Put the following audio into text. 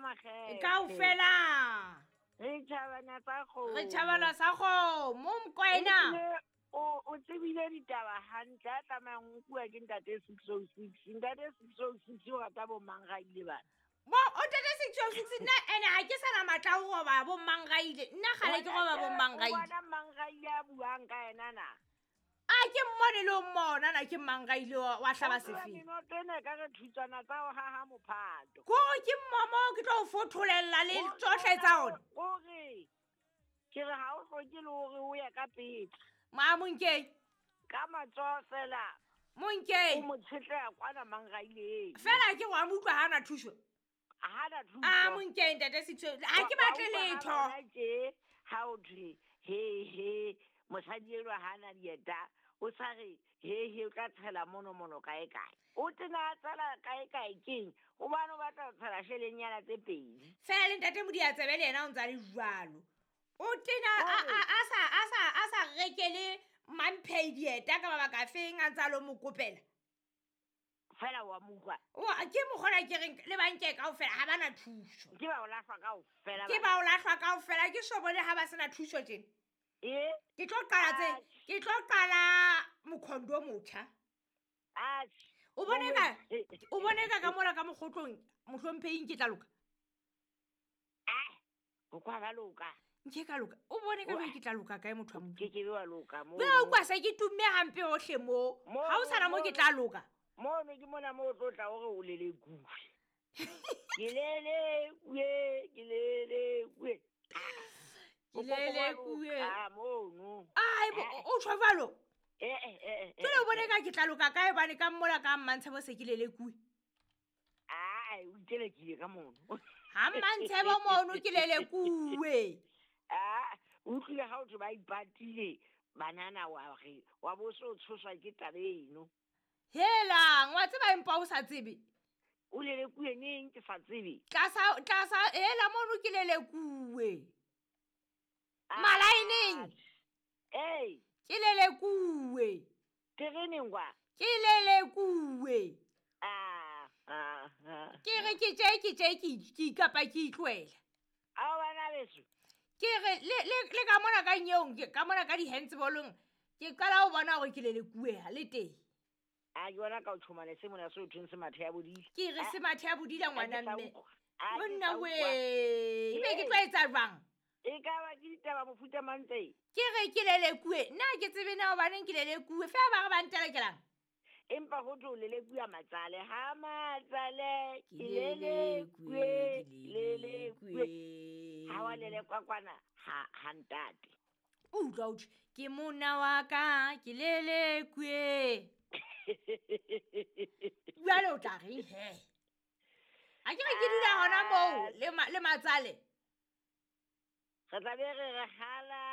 makgethe. Kaofela. Re tjhabana tsa kgomo. Re tjhabana sa kgomo Mokoena. Ehlile, o tsebile ditaba hantle a tlamayang ho nkuwa ke ntate 606. Ntate 606 o rata bo mang ga ile bana. Bo o ntate 606 nna ene ha ke sana matla a ho roba bo mang ga ile. Nna kgale ke roba bo mang ga O ile. bona mang ga ile a buang ka yena na? A ke mmone le o mmona na ke mang ga ile wa hlaba O tseba sefeng. menoto ena e ka re thutswana tsa ho haha mophato. Kore ke mmomo ke tlo o fotholella le tsohle tsa ona. Kore ke re ha o hloke le hore o ye ka pele. Ma Monkeng. Ka matsoho fela. Monkeng. O mo tshetleha kwana mang ga ile. Fela ke wa mo utlwa ha ana thuso. Ha na thuso. A Monkeng ntate Sitho, ha ke batle Wa utlwa ha letho. bona tje, ha o thwe, he, he, mosadi enwa ha ana dieta, o sa re, he, he, o tla tshela mono, mono, kae, kae. O tena a tshela kae, kae keng? Hobane o batla ho tshela shelenyana tse pedi. Fela le ntate Modiantsebe le yena o ntsa le jwalo. O tena a sa rekele Mamphei dieta ka mabaka a feng a ntsa lo mo kopela. Fela wa mo utlwa. Wa, ke mokgona ke reng le banke kaofela ha bana thuso. Ke ba o lahlwa kaofela Ke ba. ba o lahlwa kaofela, ke so bone ha ba sena thuso tjena. E? Ke tlo qala tse, Atjhe. ke tlo qala mokhondo o motjha. Atjhe. O bone ka, Mongwe. o bone ka ka mola ka mokgotlong, mohlomphehi ke tla loka. Ah, o kwa ba loka. Nke ka loka. O bone ka Wa. jwang ke tla loka kae motho wa Modimo? Ke ke be wa loka moo. Jwale o kwa se ke tumme hampe hohle moo. Moo, Ha o sana moo ke moo. tla loka. Mono ke mona moo o tlo tla hore o lelekuwe. Ke lelekuwe, ke lelekuwe. Ke lelekuwe. Ah, mono. Ai, bo, o tjho jwalo? Eh, eh, eh, eh, Jwale o bone eh. ka ke tla loka kae hobane ka mmola ka Mmantshebo se ke lelekuwe. Ai, o itelekile ka mono. Ha Mmantshebo mono ke lelekuwe. Ah, o utlwile ha o thwe ba ipatile banana wa re, wa bo so tshoswa ke taba eno. Helang, wa tseba empa o sa tsebe. O lelekuwe neng ke sa tsebe? Tlasa, tlasa, hela mono ke lelekuwe. Ah, Malaeneng. Ei. Ke lelekuwe. Tereneng kwa? Ke lelekuwe. Ah, ah, ah. Ke re ke tje, ke tje, ke ke ikapa ke itlohela. Ao bana beso. Ke re, le, le, le ka mona ka nyeong, ke ka mona ka di-handsballong, ke qala ho bona hore ke lelekuwe ha le teng. A ke bona ka o tjhomane se mona se o thweng se mathe ya bodile. Ke re se mathe ya bodile Ha ke ngwana sa mme. utlwa. Ha ke Monna sa utlwa. wee, ebe ke Ee. tlo etsa jwang? E ka ba ke ditaba mofuta mang tse? Ke re ke lelekuwe, nna ha ke tsebe na hobaneng ke lelekuwe, feela ba re ba ntelekelang. Empa ho thwe o lelekuwa matsale, ha matsale, Ke ke lelekuwe, lelekuwe, lelekuwe. lelekuwe. Ha wa lelekwa kwana, ha ntate. O utlwa o thwe, ke monna wa ka, ke lelekuwe. Jwale o tla reng he? Ha ke re ke dula hona moo le matsale. Re tla be re re hala.